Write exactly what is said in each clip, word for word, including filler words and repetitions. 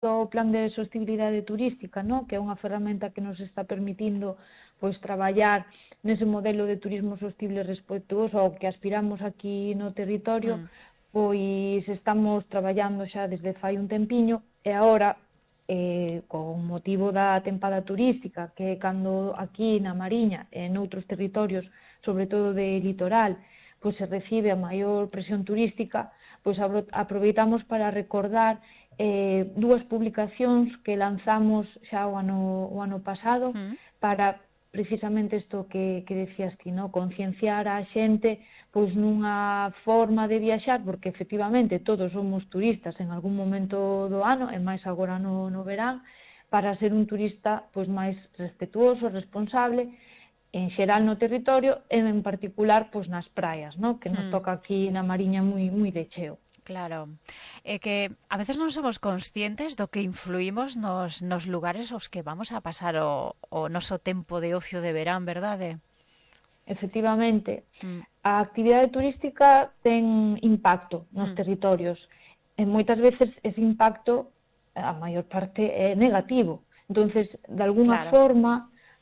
do plan de sostenibilidade turística, ¿no? Que é unha ferramenta que nos está permitindo pois traballar nese modelo de turismo sostible respetuoso ao que aspiramos aquí no territorio, Mm. pois estamos traballando xa desde fai un tempiño e agora, eh, con motivo da tempada turística, que é cando aquí na Mariña e noutros territorios, sobre todo de litoral, pois se recibe a maior presión turística, pois aproveitamos para recordar eh, dúas publicacións que lanzamos xa o ano, o ano pasado Mm. para precisamente isto que, que decías ti, no? Concienciar a xente pois nunha forma de viaxar, porque efectivamente todos somos turistas en algún momento do ano, e máis agora no, no verán, para ser un turista pois máis respetuoso, responsable, en xeral no territorio e en particular pois nas praias, no? Que nos Mm. toca aquí na Mariña moi, moi de cheo. Claro, é que a veces non somos conscientes do que influímos nos, nos lugares aos que vamos a pasar o, o noso tempo de ocio de verán, verdade? Efectivamente, Mm. a actividade turística ten impacto nos Mm. territorios e moitas veces ese impacto, a maior parte, é negativo. Entonces, de alguna Claro. forma,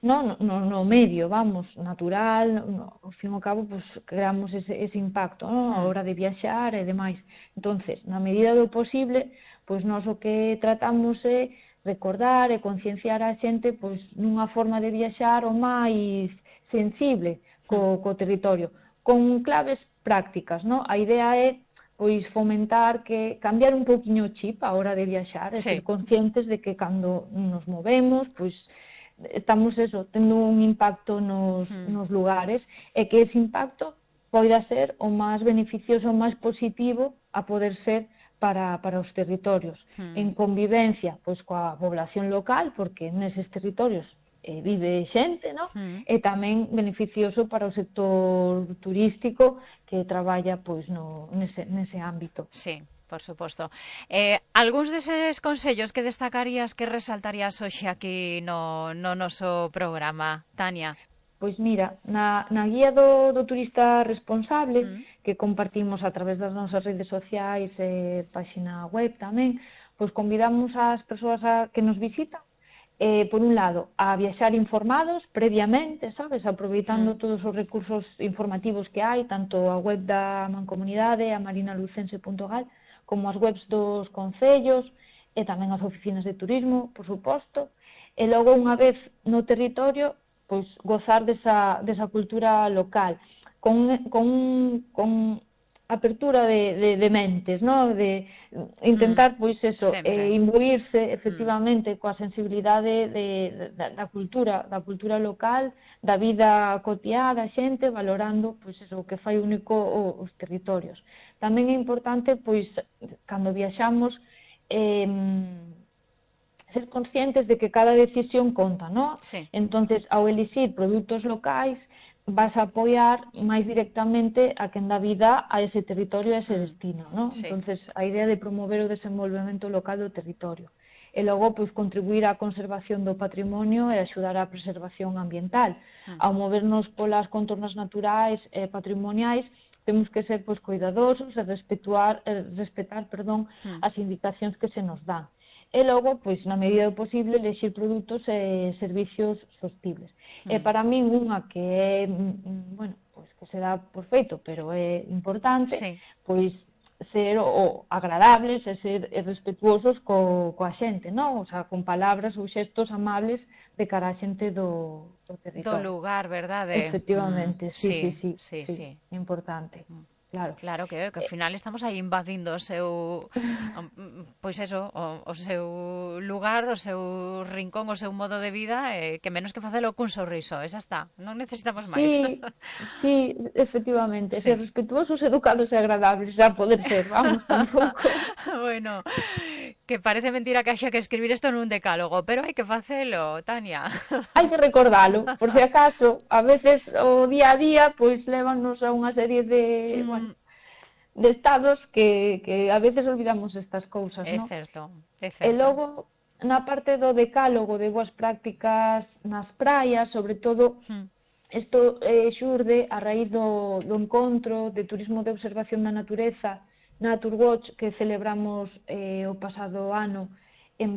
no, no, no medio, vamos, natural, no, ao fin e ao cabo, pues, creamos ese, ese impacto, no? A Mm. hora de viaxar e demais. Entonces, na medida do posible, pois nós o que tratamos é recordar e concienciar a xente pois nunha forma de viaxar o máis sensible co, co territorio, con claves prácticas, no? A idea é pois fomentar que cambiar un pouquiño o chip a hora de viaxar, e Sí. ser conscientes de que cando nos movemos, pois estamos eso, tendo un impacto nos, Mm. nos lugares, e que ese impacto poida ser o máis beneficioso, o máis positivo a poder ser para, para os territorios. Mm. En convivencia pois coa población local, porque neses territorios eh, vive xente, ¿no? Mm. E tamén beneficioso para o sector turístico que traballa pois no, nese, nese ámbito. Sí, por suposto. Eh, algúns deses consellos que destacarías, que resaltarías hoxe aquí no, no noso programa, Tania? Pois mira, na, na guía do, do turista responsable, Mm. que compartimos a través das nosas redes sociais e páxina web tamén, pois convidamos ás persoas a, que nos visitan, eh, por un lado, a viaxar informados previamente, sabes, aproveitando Mm. todos os recursos informativos que hai, tanto a web da Mancomunidade, a marinalucense punto gal, como as webs dos concellos, e tamén as oficinas de turismo, por suposto, e logo, unha vez no territorio, pois gozar desa, desa cultura local, con, con, con apertura de, de, de mentes, ¿no? De intentar, pois eso, eh, imbuirse efectivamente coa sensibilidade de, de, da, da cultura, da cultura local, da vida cotiá da xente, valorando, pois eso, o que fai único os territorios. Tamén é importante, pois, cando viaxamos, eh, ser conscientes de que cada decisión conta, ¿no? Sí. Entonces, ao elixir produtos locais, vas a apoiar máis directamente a quen dá vida a ese territorio, a ese destino, ¿no? Sí. Entonces, a idea de promover o desenvolvemento local do territorio. E logo, pois, contribuir á conservación do patrimonio e axudar á preservación ambiental. Mm. Ao movernos polas contornas naturais e patrimoniais, temos que ser, pois, cuidadosos e respetuar, eh, respetar, perdón, Mm. as indicacións que se nos dan. E logo, pois, na medida do posible, elexir produtos e servicios sostibles. Mm. E para min, unha que é, bueno, pois, que se dá por feito, pero é importante, sí. pois, ser o, o agradables e ser respetuosos co, coa xente, non? O sea, con palabras ou xestos amables de cara a xente do, do territorio. Do lugar, verdade? Efectivamente, Mm. sí, sí, sí, sí, sí, sí. importante. Mm. Claro. Claro, que, que ao final estamos aí invadindo o seu, pois eso, o, o seu lugar, o seu rincón, o seu modo de vida, eh, que menos que facelo cun sorriso, esa está, non necesitamos máis. Sí, sí, efectivamente, Sí. ser respetuosos, educados e agradables, a poder ser, vamos, tampouco. Bueno, que parece mentira que haxa que escribir isto nun decálogo, pero hai que facelo, Tania. Hai que recordalo, por si acaso, a veces o día a día, pois, lévanos a unha serie de, mm. bueno, de estados que, que a veces olvidamos estas cousas, é non? certo, é certo. E logo, na parte do decálogo de boas prácticas nas praias, sobre todo, Mm. isto eh, xurde a raíz do, do encontro de turismo de observación da natureza, Naturewatch, que celebramos eh, o pasado ano